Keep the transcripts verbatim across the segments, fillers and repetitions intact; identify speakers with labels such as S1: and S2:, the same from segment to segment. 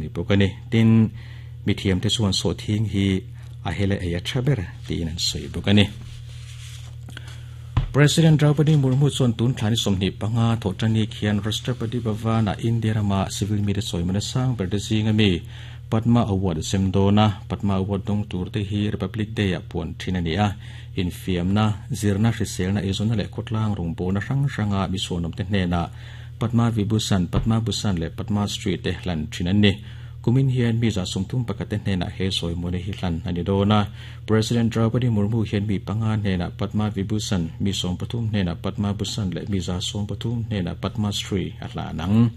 S1: Ni bawk a ni. Tin, mithiamte chuan sawhthing hi a hela ei a tha ber tiin an sawi bawk a ni. President Draupadi Murmu chuan tun thla ni sawmhnih panga thawhṭani khian Rashtrapati Bhavan-ah India rama civil mite sawimana sang ber te zinga mi Padma Award a sem dawn a. Padma Award dawng tur te hi Republic Day-ah puan ṭhin a ni a. Infiamna, zirna, hriselna, eizawnna leh khawtlang rawngbawlna hrang hranga mi chhuanawmte hnenah Padma Vibhushan, Padma Bhushan leh Padma Shri te hlan thin an ni. Kumin hian mi za sawmthum pakhat te hnenah he sawimuana hi hlan a ni dawn a. President Draupadi Murmu hian mi panga hnenah Padma Vibhushan, mi sawm pathum hnenah Padma Bhushan leh mi za sawm pathum hnenah Padma Shri a hlan ang.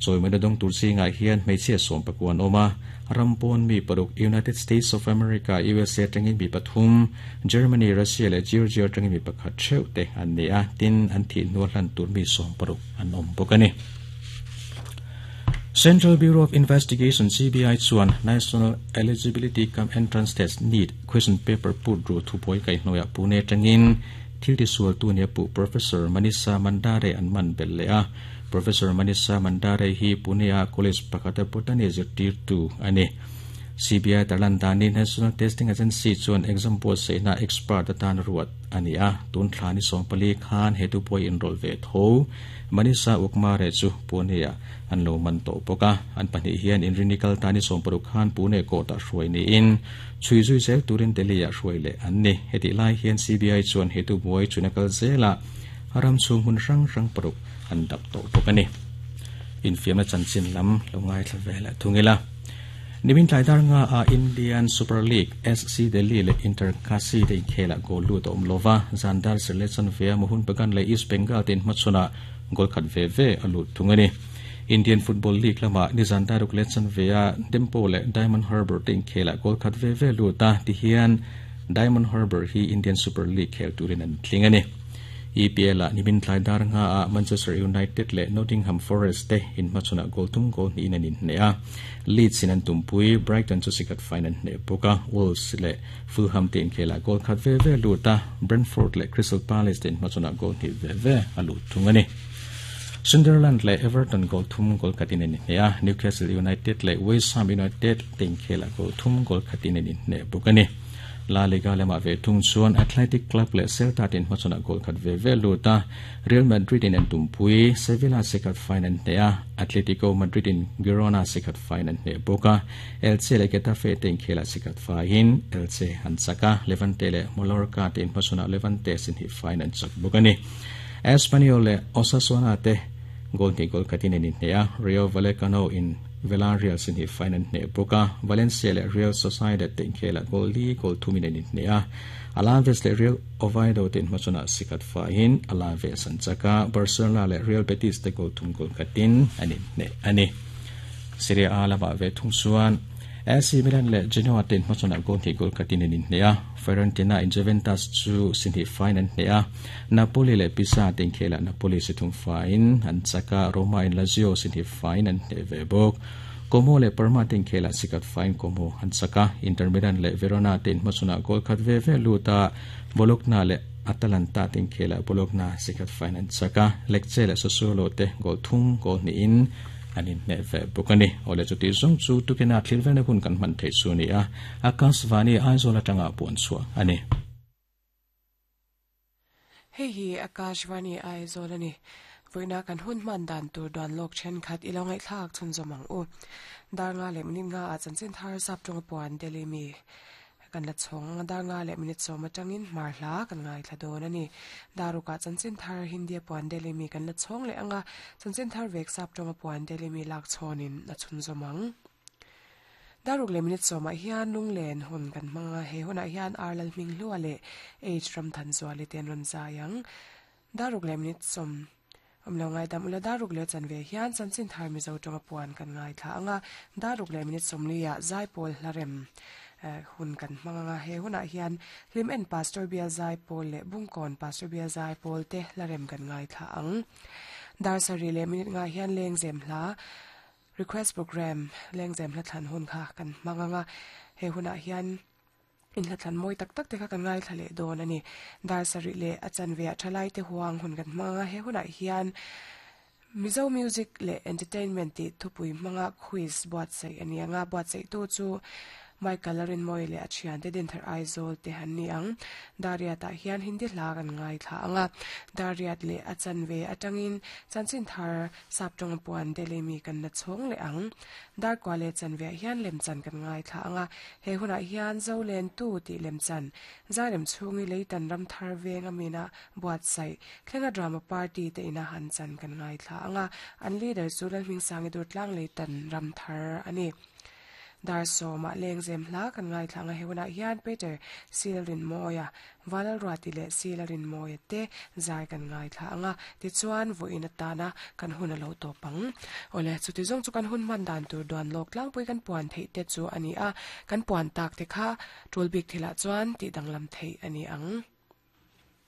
S1: Chawimuana dawng tur zingah hian hmeichhia sawm pakua an awm a. Ram pawn mi paruk, United States of America, U S A atangin mi pathum, Germany, Russia leh Georgia atangin mi pakhat theuh te an ni a. Tin, an thih hnua hlan tur mi sawm paruk an awm bawk a ni. Central Bureau of Investigation, C B I chuan National Eligibility cum Entrance Test, NEET question paper put ru thubuai kaihhnawih Pune atangin thil tisual tu nia puh Professor Manisha Mandhare an man belh leh a. Professor Manisha Mandhare hi Pune a college pakhata botany zirtirtu a ni. C B I tarlan danin National Testing Agency chuan exam buatsaihna expert atan ruat a ni a. Tun thla ni sawmpali khan he thubuai inrawlh ve tho Manisha Ukmare chu Pune ah an lo man tawh bawk a. An pahnih hian inrinikal ta ni sawmparuk khan Pune court ah hruai niin chhui zui zel turin Delhi ah hruai leh an ni. Hetih lai hian C B I chuan he thubuai chuna kal zela ram chhung hmun hrang hrang paruk an dap tawh bawk a ni. Infiamna chanchin lam lo ngaithla vel thungila. Nimin tlai dar nga a Indian Super League, S C Delhi leh Inter Kashi te inkhela goal lut a awm lova. Zandar selection vea Mohun Bagan leh East Bengal te inhmachhawna goal khat ve ve a lut thung a ni. Indian Football League lama nizan daruk leh chanvea Dempo leh Diamond Harbour te inkhela goal khat ve ve lut a. Tihian Diamond Harbour hi Indian Super League khel turin an tling a ni. E P L a nimin tlai dar nga a Manchester United leh Nottingham Forest te inhmachhawna goal thum goal hnihin an inhne a. Leeds in an tumpui Brighton chu sikhat faiin an hne bawk a. Wolves leh Fulham te inkhela goal khat ve ve lut a. Brentford leh Crystal Palace te inhmachhawna goal hnih ve ve a lut thung a ni. Sunderland leh Everton goal thum goal khatin an inhne a. Newcastle United leh West Ham United te inkhela goal thum goal khatin an inhne bawk a ni. La Liga lema ve thung chuan Athletic Club leh Celta tin hmachhawna goal khat ve ve lut a. Real Madrid in an tumpui Sevilla sikhat faiin an hne a. Atletico Madrid in Girona sikhat faiin an hne bawk a. Elche leh Getafe te inkhela sikhat faiin Elche an chak a. Levante leh Mallorca te inhmachhawna Levante sin hi faiin an chak bawk a ni. Espanyol leh Osasuna te goal hnih goal khatin an inhne a. Rayo Vallecano in Villarreal sin hi faiin an hne bawk a. Valencia leh Real Sociedad te inkhela goal li goal thumin an inhne a. Alaves leh Real Oviedo te inhmachhawna sikhat faiin Alaves an chak a. Barcelona leh Real Betis te goal thum goal khatin an inhne a ni. Serie A lama ve thung chuan A C Milan leh Genoa te inhmachhawna goal hnih goal khatin an inhne a. Fiorentina in Juventus chu si hnih faiin an hne a. Napoli leh Pisa te inkhela Napoli si thum faiin an chak a. Roma in Lazio si hnih faiin an hne ve bawk. Como leh Parma te inkhela sikhat faiin Como an chak a. Inter Milan leh Verona te inhmachhawna goal khat ve ve lut a. Bologna leh Atalanta te inkhela Bologna sikhat faiin an chak a. Lecce leh Sassuolo te goal thum goal hnihin an inhne ve bawk a ni. Awle, chuti zawng chu tukina thil velna hun kan hman thei chu ni a. Akashvani Aizawl atanga puan chhuah a ni.
S2: Hei hi Akashvani Aizawl ani. Voina kan hun man dan tur duan lok then khat ilo ngai thlak chun zomang u. Dar nga le minute nga a chanchin thar sap tong puan Delhi mi kan la chhong. Dar nga le minute sawm atangin mar hla kan ngai thla dawn ani. Daruka chanchin thar Hindi puan Delhi mi kan la chhong le anga. Chanchin thar vek sap tong puan Delhi mi lak chhonin a chhun zomang. Daruk le minute sawma hian lunglen hun kan hmanga. He huna hian Arlal hming hlua le H ram than zuali ten ron zayang. Daruk le minute sawm om lo ngai dam ula. Daruk le chanve hian chanchin thar Mizo tonga puan kan ngai thla anga. Daruk le minute sawmli ah zaipawl hlarem hun kan hmanga. He huna hian hlim en Pastor Bial Zaipawl le Bungkawn Pastor Bial Zaipawl te hlarem kan ngai thla ang. Dar sari le minute nga hian lengzem hla request program, lengzem hla thlan hun kha kan hmanga. He huna hian in hla thlan moi tak tak te kha kan ngai thla le dawn ani. Dar sari le a chanve a thalai te huang hun kan hmanga. He huna hian Mizo Music le Entertainment ti thupui hmanga quiz buatsaih a ni anga buatsaih tu chu Michael Rinmawii leh a thiante Dinthar Aizawl te han ni ang Dariat ah hian Hindi hla kan ngai thla anga Dariat leh a chanve atangin chanchin thar saptawng puan Delhi mi kan la chhawng leh ang Darkua leh chanve ah hian lemchan kan ngai thla anga he hunah hian Zolen tu tih lemchan Zairem chhungi leitan ram thar veng amina buatsaih thlenga drama party te ina han chan kan ngai thla anga an leader chu Lalhmingsangi Durtlang leitan ram thar ani Dar sawmah lengzem hla kan ngai thla anga he hunah hian Peter Silrinmawia Valalruati leh Silrinmawia te zai kan ngai thla anga tichuan vawiin atana kan hun a lo tawp ang awle chuti zawng chu kan hun hman dan tur duan lawk tlangpui kan puan theih te chu a ni a kan puan tak te kha tul bik thilah chuan tih danglam theih a ni ang.